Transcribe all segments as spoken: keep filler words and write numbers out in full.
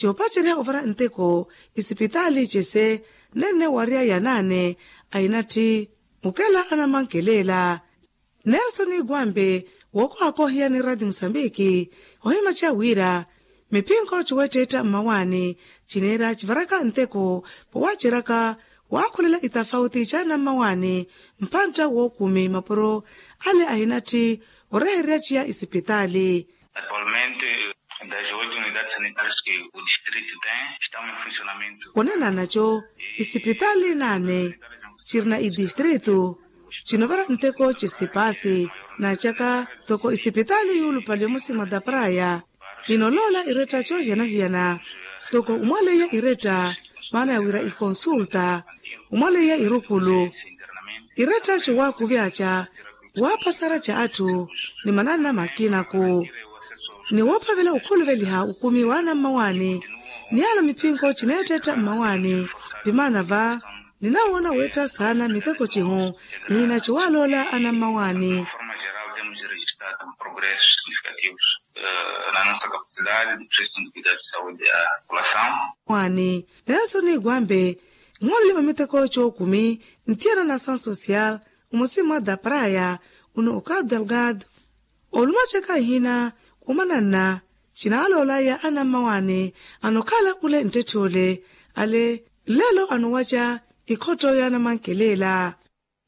yoopacerya ovara nteko isipitaali cese nenne warya ya naane. Ainatthi mukela anamankelela nelson igwambe wookohakohiya ni radi musambiki ohimaceya wira miphinko ciwetteetta mmawaani cineera civaraka nteko powaceraka waakhulela itafauti caana mmawaani mpantta wookumi mapuro ale ahinatthi orehererya ciya isipitaali. Atualmente das oito unidades sanitárias que o distrito tem estão em funcionamento. Onananaco isipitaali naane cirina idistrito cinovara nteko cisipaasi naacaka toko isipitaali yuulupaliwa musimu da praya inoloola iretta coohiyana-hiyana toko umwaleiya iretta maana ya wira ikonsulta umwaleiya irukulu iretta cowaakuvyaca waaphasara ca atthu ni mananna makinaku ni woophavela okhuluveliha ukumi wa anammawaani ni ala miphinko cineettetta mmawaani vimaana va ninawoona weetta saana miteko cihu nina ciwaaloola anammawaani. Mwaani nelson igwambe nhooleliwa miteko cookumi ntiyana na asansosial omusimu wa da praya uno okapu delgado olumaceka nhina omananna cinaaloolaya anammawaani anokhala ule nttetthe ole ale lelo anowaca ikhotto yaanamankelela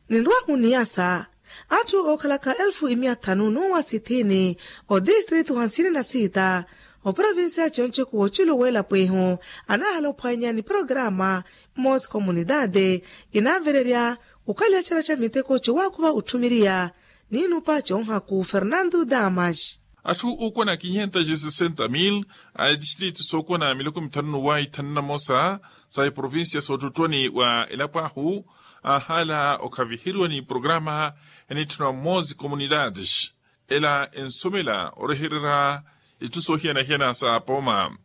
ninrwa oniyasa atthu ookhalaka elfu imiya thanu n'uwa sithini odistritu hansini na siita oprovinsiya conceku wooculu weelapwehu anaahala ophwanya ni programa mos comunidade inaavererya okhalyacerya ca miteko cowaakhuva otthumiriya niinupa conhaku fernando damas. Atthu ookwana kinhentas sesenta mil a etistritu sookwana miloko mithanu n'uwa ithanu na mosa sa eprovinsiya soottottwani wa elapo ahu aahala okhaviheriwa ni programa enitthanwa mos comunidades ela ensomela orehererya itthu soohiyana-hiyana sa pooma.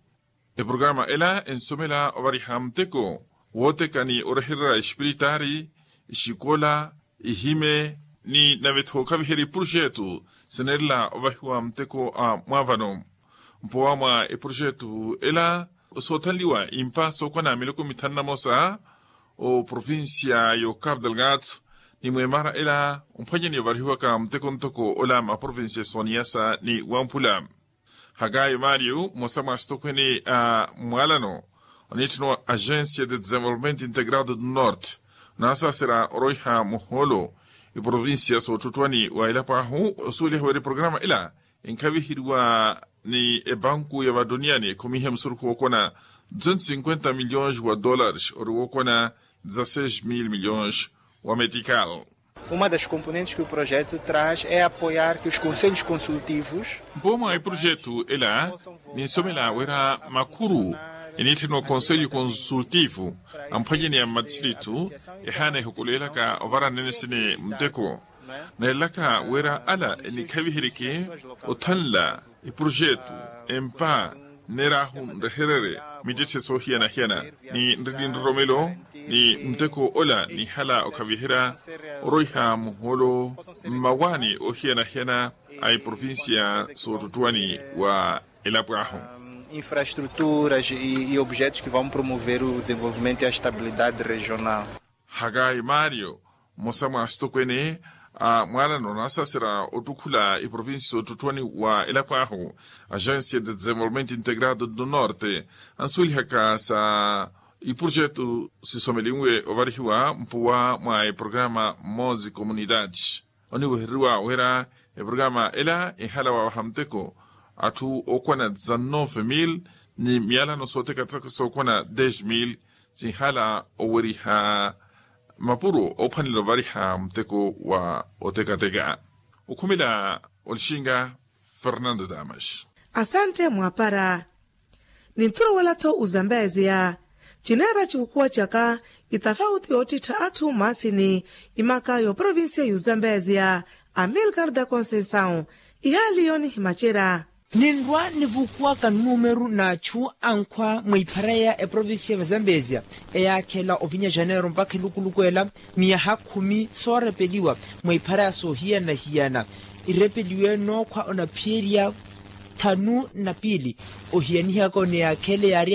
Eprograma ela ensomela ovariha muteko wooteka ni orehererya exipiritaari exikola ihime ni nave-tho okhaviherya eprojetu sineerela ovahiwa muteko a mwaavano mpowa mwa eprojetu ela soothanliwa impa sookwana miloko mithanu na mosa oprovinsiya y'ocapu delgado ni mweemara ela omphwanyani ovarihiwaka muteko ntoko ola maprovinsiya sooniyasa ni wamphula. Hakayo mario mmosa mwa asitokhwene a mwaalano oniitthaniwa agencia de desenvolvimento integrado do norte onaasaasera oroiha muhoolo eprovinsiya soottottwani wa elapo ahu osuweliha wira eprograma ela enkhaviheriwa ni ebanku ya vaduniyani ekhumihe musurukhu wookwana duzentos cinquenta milhões wa dólares ori wookwana dezasseis mil milhões wa metikal. Uma das componentes que o projeto traz é apoiar que os conselhos consultivos. Mpooma eprojetu ela ninsomela wira makhuru eniitthaniwa conselho consultivo amphwanyani a mmatistrithu ehaana ehukuleelaka ovara nene sine muteko neelaka wira ala enikhaviherike othanla eprojetu empa nneeraahu nrehererye mittetthe soohiyana-hiyana ni nrili nroromelo ni muteko ola nihala okhaviherya oroiha muhoolo mmawaani oohiyana-hiyana a eprovinsiya soottottwani wa elapo ahu. Infraestruturas e objetos que vão promover o desenvolvimento e a estabilidade regional. Hakayi mario mmosa mwa asitokwene a mwaalano naasaserya ottukhula eprovinsi soottottwani wa elapo ahu agencia de desenvolvimento integrado do norte ansuwelihaka sa eprojetu sisomelinwe ovarihiwa mpuwa mwa eprograma mose comunidade oniwehereriwa wira eprograma ela enhala waawaha muteko atthu ookwana dezanove mil ni miyalano sootekateka sookwana dez mil sinhala oweriha mapuro oophwanela ovariha muteko wa otekateka. Okhumela olixinga fernando damas. Asante mwapara. Ninthuruwela-tho ozambeziya cineera ciwukuwa caka itafauti yoottittha atthu maasini imaka y'oprovinsiya y'ozambeziya amilcar da conceição ihaali yoonihimacerya. Ninrwa nivukuwaka nnumeru n'achu ankhwa mwiiphareya eprovinsiya ya vazambeziya eyaakhela ovinya janeiro mpakha elukuluku ela miyaha khumi soorepeliwa mwiiphareya soohiyana-hiyana irepeliwe nookhwa onaphiyerya thanu na piili ohiyanihaka oniyaakhele yaari